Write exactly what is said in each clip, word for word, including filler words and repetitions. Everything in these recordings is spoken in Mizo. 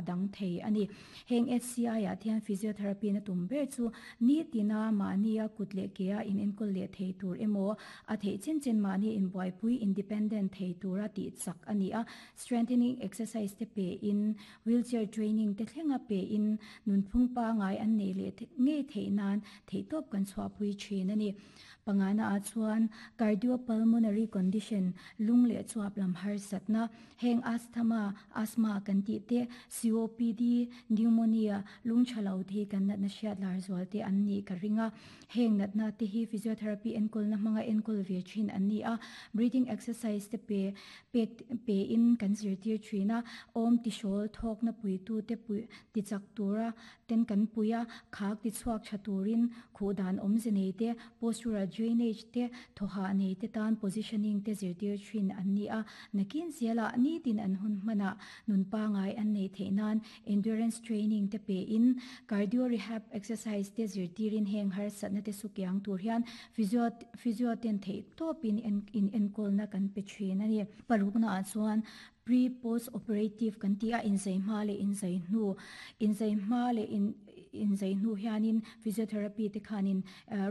dang thei ani heng H C I a thian physiotherapy na tum ber chu ni tina mania kutle kea in enkol le thei tur emo a thei chen chen mani in boipui independent thei tura ti chak ani a strengthening exercise te pe in wheelchair training te thlenga pe in nunphung pa ngai an nei le nge thei nan thei top kan chwa pui thin ani pangana a chuan cardiopulmonary condition lung le chuap lam har satna heng asthma asthma kan ti te C O P D pneumonia lung thalo the kan na na hriat lar zual te an ni ka ringa heng nat na te hi physiotherapy enkol na hmanga enkol ve thin an ni a breathing exercise te pe pe pe in kan zir tir thina om ti shol thok na pui tu te pui ti chak tura ten kan puia khak ti chuak thaturin khudan om zenei te postural drainage te thoha nei te tan positioning te zir tir thin an ni a nakin zela ni tin an hun mana nun pa ngai an nei theinan endurance training te pe in cardio rehab exercise te zir tirin heng har satna te sukyang tur hian physio physio ten thei topin in in enkol na kan pe thin ani parukna a chuan pre post operative kan tia in zai ma le in zai nu in zai ma le in in zai nu hianin physiotherapy te khanin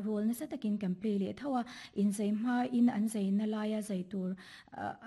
role na satakin kan play le thawa in zai ma in an zai na laya zai tur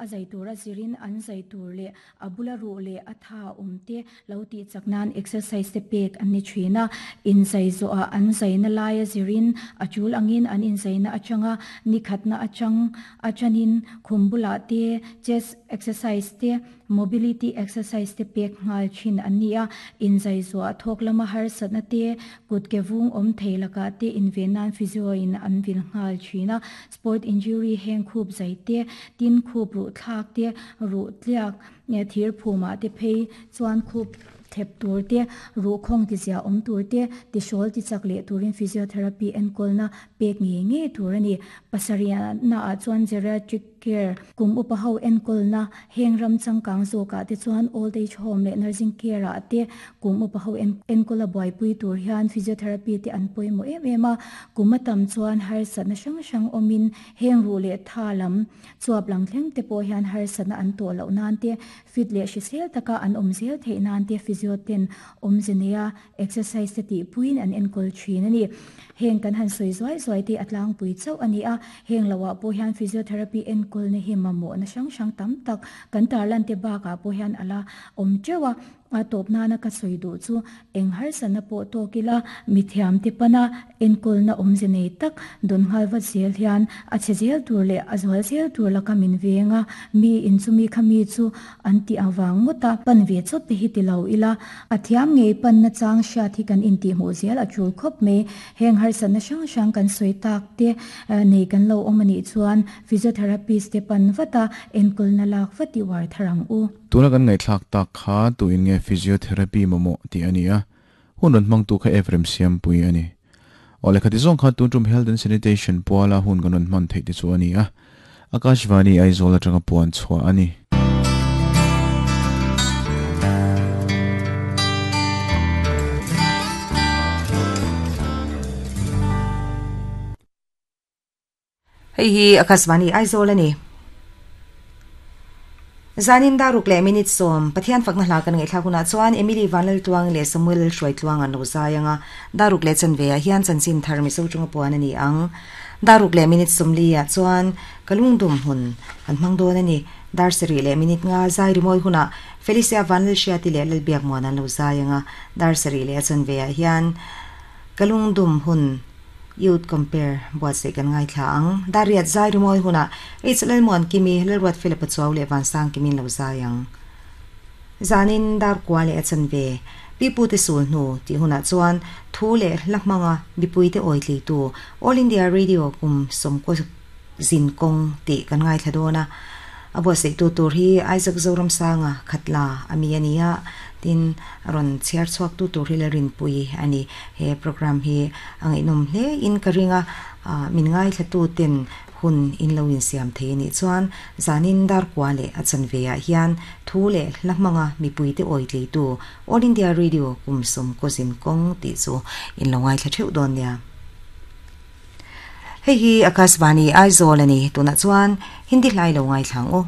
a zai tur a zirin an zai tur le abula ru le atha umte lo ti chaknan exercise te pek an ni thina in zai zo a an zai na laya zirin achul angin an in zai na achanga nikhatna achang achanin khumbula te chest exercise te mobility exercise te pek ngal thin ania in zai zo a thok lama har satna te kut ke vung om theilaka te invenan physio in an vil ngal thina sport injury heng khup zai te tin khup ru thlak te ru tliak ne thir phuma te phei chuan khup thep tur te ru khong ti zia om tur te ti shol ti chak le turin physiotherapy enkol na pek nge nge tur ani pasaria na a chuan geriatric care kum upa ho enkol na heng ram changkang zo ka te chuan old age home le nursing care a te kum upa ho enkola boy pui tur hian physiotherapy te an poi mo em em a kum atam chuan har satna sang sang omin heng ru le tha lam chuap lang thleng te po hian har satna an to lo nan te fit le hrisel taka an om zel thei nan te physio ten omzenea exercise te ti puin an enkol thin ani heng kan han soi zoi zoi te atlang pui chau ani a heng lawa po hian physiotherapy enkol ne hi mamo na sang sang tam tak kan tarlan te ba ka po hian ala om chewa a top na na ka soi du chu eng har sana po to kila mithiam te pana enkol na omzenei tak don halwa zel hian a chezel tur le azwal zel tur la kamin venga mi in chu mi khami chu anti awang ngota pan ve chot te hi ti lo ila athiam ngei pan na chang sha thi kan in ti mu zel a chul khop me heng har sana sang sang kan soi tak te nei kan lo omani chuan physiotherapist te pan wata enkol na lak wati war tharang u tuna kan ngai thlak tak kha tu in nge physiotherapy momo ti ania hun ron mang tu kha Ephraim siam pui ani ole khati zong kha tu tum health and sanitation puala hun kan ron man thei ti chu ani a Akashvani Aizawl atanga puan chhuwa ani hei hi Akashvani Aizawl ani zanin daruk le minute som pathian fakna hla kan ngai thla huna chuan Emily Vanlal tuang le Samuel Hruai tuang an lo zayanga daruk le chanve a hian chanchin thar mi so chunga puan ani ang daruk le minute somli a chuan kalungdum hun an hmang don ani dar seri le minute nga zai rimoi huna Felicia Vanlal Hriati le Lalbiak muan an lo zayanga dar seri le chanve a hian kalungdum hun youth compare buat se kan ngai thla ang dariat zai rimoi huna h lal mon kimi lalwat philip chaw le van sang kimin lo zayang zanin dar kwa le achan ve pipu te sul nu ti huna chuan thu le lamanga bipui te oitli tu All India Radio kum som ko zin kong ti kan ngai thla dona abo se tu tur hi Isaac Zoram sanga khatla ami ania tin ron chiar chuak tu tur hi le rin pui ani he program hi angai nom hle in karinga min ngai thla tu ten hun in lo in siam thei ni chuan zanin dar kwa le achan ve a hian thu le lamanga mipui te oitli tu All India Radio kum som ko zin kong ti chu in lo ngai thla theu don nia hei hi Akashvani Aizawl ani tuna chuan Hindi hlai lo ngai thlang o.